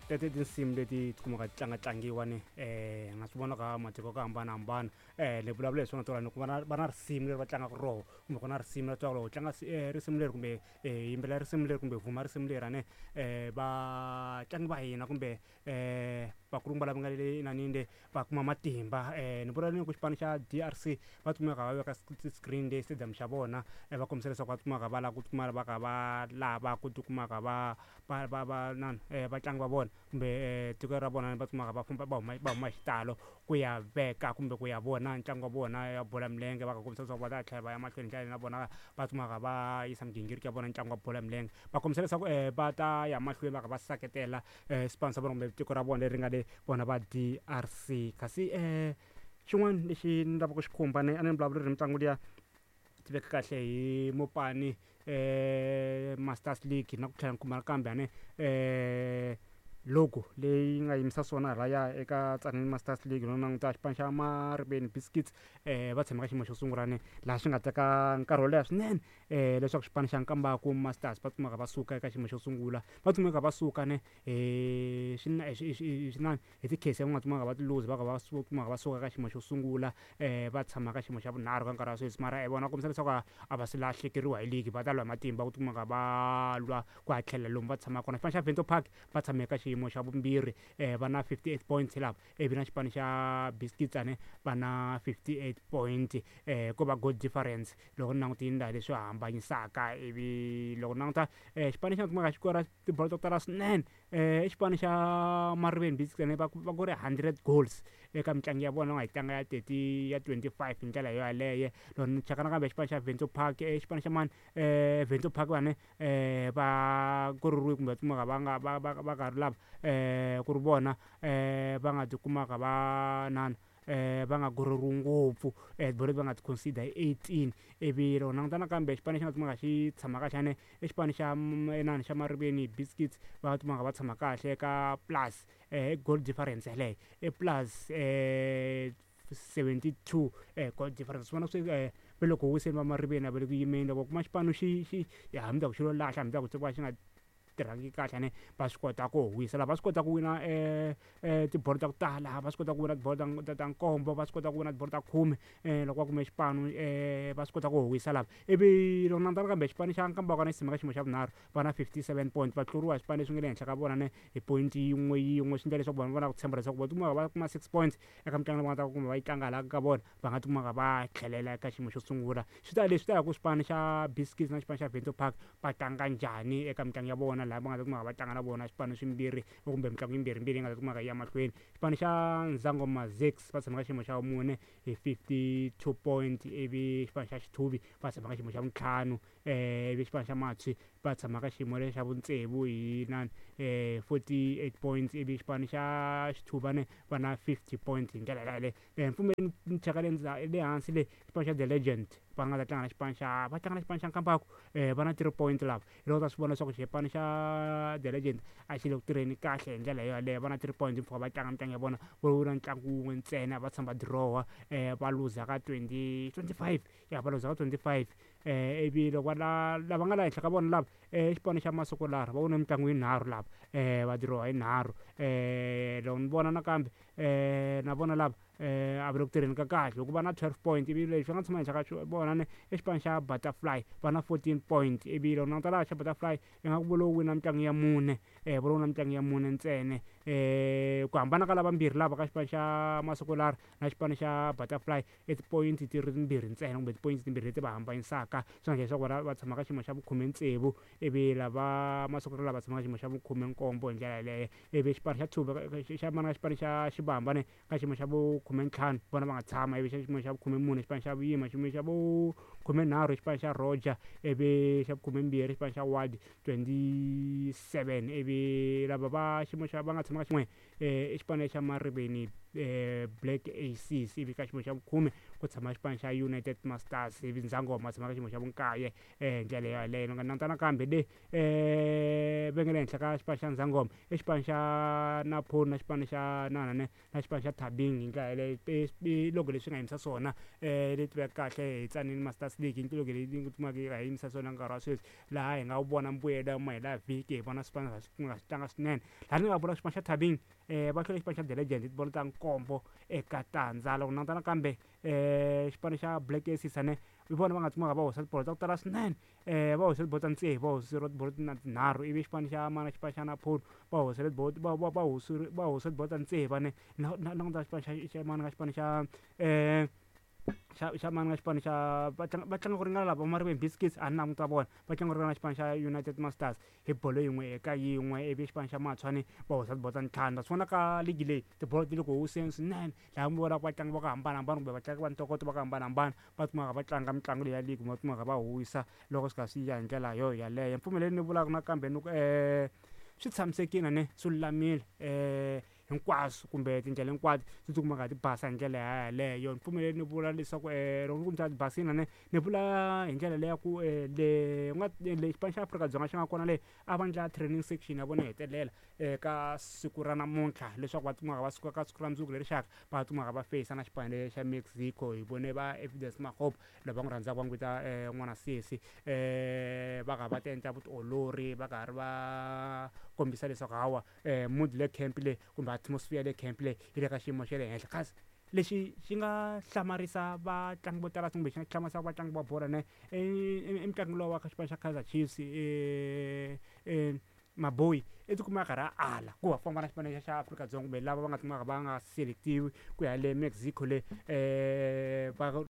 Tete i tinsimu leti tikumaka ti tlangatlangiwa ni nga swi vona ka matiko ku hambanahambana. Ni vulavula hi swona tolo ni ku va na va na risimu leri va tlangaka roho kumbe ku na risimu ra twa loko tlanga risimu leri kumbe yimbelela risimu leri kumbe vuma risimu leri a ne vatlangi va hina kumbe vakulukumba lava nga le inanini le va kuma matimba. Ni vula ni ku xipano xa D_R_C va kumeka va veka ti-screen le stadium xa vona va kombisa leswaku va kumaka va lava ku tikuma va kha va lava ku tikumaka va va va va nani vatlangi va vona kumbe tiko ra vona va kumaka va famba va huma va huma hi xitalo ku ya veka kumbe ku ya vona ntlangu wa vona ya bolo ya milenge va kha kombisa leswaku va ta tlhela va ya mahlweni hi ndlela leyi na vona va kumaka va yisa migingiriko ya vona ntlangu wa bolo ya milenge. Va kombisa leswaku va ta ya mahlweni va kha va seketela xipano xa vona kumbe tiko ra vona leri nga le vona va D_R_C. Kasi xin'wana lexi ni lavaka ku xi khumba ni a ni vulavula ri mitlangu liya tiveka kahle hi Mopani Masters League na ku tlhela ni khumba nakambe a ne logo leyi nga yimisa swona halaya eka Tzaneen Masters League no languta xipano xa Mariveni Biscuits va tshama ka xiyimo xo sungula ne laha swi nga teka nkarhi wo leha swinene leswaku xipano xa Nkambaku Masters va kumeka va suka eka xiyimo xo sungula va kumeka va suka ne hi swinani hi ti-case va nga kumeka va ti luza va ka va kumeka va suka ka xiyimo xo sungula va tshama ka xiyimo xa vunharhu ka nkarhi wa sweswi mara vona va kombisa leswaku a va se lahlekeriwa hi league va ta lwa hi matimba ku kumeka va lwa ku ya tlhela lomu va tshamaka kona. Xipano xa Vento Park va tshame ka xiyimo xa vumbirhi va na 58 points lava ivi na xipano xa Biscuits ane va na 58 point ko va goal difference loko ni langutile laha leswi hambanyisaka ivi loko ni languta xipano lexi nga kumeka xi kora tibolo to tala swinene i xipano xa Mariveni Biscuits ene va va kore 100 goals eka mitlangu ya vona va nga yi tlanga ya 30 ya 25 hi ndlela yo yaleyo. Loko ni cheka nakambe xipano xa Vento Park i xipano xa mani Vento Park vane va kororiwe kumbe va kumeka va nga va va va nga ri lava ku ri vona va nga tikumaka va nana va nga kororiwi ngopfu tibolo leti va nga ti concede hi 18 ivi loko languta nakambe xipano lexi nga kumeka xi tshama kahle ane i xipano xa inani xa Mariveni Biscuits va kumeka va tshama kahle ka plus goal difference yaleyo i plus 72 goal difference swi vona swi ve loko wiseni va Mariveni a va le ku yimeni loko kuma xipano xi xi hambi ku xi lo lahla hambi ku va xi nga tirhangi kahle ne va swi kota ku wisa laha va swi kota ku wina tibolo ta ku tala va swi kota ku wina tibolo ta ta nkombo va swi kota ku wina tibolo ta khume loko va kume xipano va swi kota ku wisa lava ivi loko languta nakambe xipano xa Nkambakwana xi tshama ka xiyimo xa vunharhu va na 57 point va tluriwa hi swipano leswi nga le henhla ka vona ne hi point yin'we yin'we swi endla leswaku vanhu va na ku tshemba leswaku va tikuma va kuma 6 points eka mitlangu leyi va nga ta kuma va yi tlanga laha ka vona va nga tikuma va tlhelela eka xiyimo xo sungula. Swi ta leswi ta ya ku xipano xa Biscuits na xipano xa Vento Park va tlanga njhani eka mitlangu ya vona laha va nga ta kumeka va tlanga na vona swipano swimbirhi kumbe mitlangu yimbirhimbirhi yi nga ta kumeka yi ya mahlweni. Xipano xa Nzangoma Zakes va tshama ka xiyimo xa vumune hi 52 point ivi xipano xa Xithuvi va tshama ka xiyimo xa vuntlhanu ivi xipano xa Matshwi va tshama ka xiyimo xa vutsevu hi nani 48 points ivi xipano xa Xithuvane va na 50 points hi ndlela yaleyo. Mpfumeli ni cheka le le hansi le xipano xa The Legend va nga ta tlanga na xipano xa va tlanga na xipano xa Nkambaku va na 3 point lava hi loko ta swi vona leswaku xipano xa The Legend a xi le ku tirheni kahle hi ndlela yoyaleyo va na 3 points mpfhuka va tlanga mitlangu ya vona vo wina ntlangu wun'we ntsena va tshama va dirowa va luza ka 20 25 ya va luza ka 25 ivi loko va la lava nga la henhla ka vona lava xipano xa Masukulara va wine mitlangu yinharhu lava va dirowa yinharhu loko ni vona nakambe na vona lava a va le ku tirheni ka kahle hikuva na 12 point ivi lexi va nga tshama henhla ka vona ne i xipano xa Butterfly va na 14 point ivi loko languta laha xa Butterfly ingaku vo lo wina mitlangu ya mune vo lo wina mitlangu ya mune ntsena ku hambana ka lavambirhi lava ka xipano xa Masukulara na xipano xa Butterfly i ti-point ti ri timbirhi ntsena kumbe ti-point timbirhi leti va hambanyisaka swi nga leswaku vona va tshama ka xiyimo xa vukhume tsevu ivi lava Masukulara lava tshama ka xiyimo xa vukhume nkombo hi ndlela yaleyo ivi xipano xa Tshuva xa mana xipano xa Xibamba ne ka xiyimo xa vukhume ntlhanu vona va nga tshama ivi xa xiyimo xa vukhume mune xipano xa Vuyima xiyimo xa vukhumenharhu xipano xa Roger ivi xa vukhume mbirhi xipano xa Ward 27 ivi lava va xiyimo xa va nga tshama ka xin'we i xipano xa Mariveni. Black Aces. Ivi ka xiyimo xa vukhume ku tshama xipano xa United Masters, ivi Ndzangoma tshama ka xiyimo xa vunkaye hi ndlela yaleyo. Ni nga languta nakambe le va nga le henhla ka xipano xa Ndzangoma i xipano xa Napoli na xipano xa nanane na xipano xa Thabing hi ndlela yaleyo. I logo leswi nga yimisa swona leyi tivekaka kahle hi Tzaneen Masters League, i logo leyi kumaka yi nga yimisa swona nkarhi wa sweswi, laha hi nga vona mbuyelo mahela vhiki, hi vona swipano swi nga swi tlanga swinene. Laha ni nga vula xipano xa Thabing va hlule xipano xa The Legend hi tibolo ta 7-0. Loko languta nakambe xipano xa Black Aces ane hi vona va nga tsumaka va hoxa tibolo ta ku tala swinene, va hoxe tibolo ta tsevu, va hoseriwa tibolo na tinharhu. Ivi xipano xa mana xipano xa Napoli va hosele tibolo va va va va hose tibolo ta tsevu ane na na languta xipano xa xa mana ka xipano xa xa xa mani ka xipano xa va tlanga va tlanga ku ringana lava Mariveni Biscuits, a ni languta vona va tlanga ku ringana xipano xa United Masters hi bolo 1-1. Ivi xipano xa Matshwani va hoxa tibolo ta ntlhanu. Na swi vona ka ligi leyi tibolo ti le ku hoseni swinene, laha mi vonaka vatlangi va ku hambanahambana kumbe vatlangi va ntokoto va ku hambanahambana va kumaka va tlanga mitlangu leyi ya ligi, va kumaka va huwisa loko swi kha swi ya hi ndlela yo yaleyo. Mpfumeleli ni vulaka nakambe ni ku swi tshamisekile ne swi lulamile hinkwaswo kumbe tindlela hinkwato ti tikumaka ti basa hi ndlela yaleyo. Ni pfumeleli ni vula leswaku loko ni ku ti basile ne ni vula hi ndlela leya ku le nga le xipano xa Afrika-Dzonga xi nga kona le a va endla training section ya vona hetelela eka siku ra namuntlha, leswaku va tikuma va suka ka siku ra mundzuku leri xaka va tikuma va feyisa na xipano xa Mexico. Hi vone va Evidence Makgopa lava n'wi rhandzaka va n'wi vita n'wana sesi va karhi va ti endla vutiolori, va karhi va kombisa leswaku hawa mood le camp le kumbe atmosphere le camp le yi le ka xiyimo xa le henhla. Kasi lexi xi nga hlamarisa vatlangi vo tala kumbe xi nga hlamarisa vatlangi va bolo ne i mutlangi lowa wa ka xipano xa Kaizer Chiefs Maboyi, i tikuma a karhi a ala ku va famba na xipano xa Afrika-Dzonga kumbe lava va nga kumaka va nga selectiwi ku ya le Mexico le va.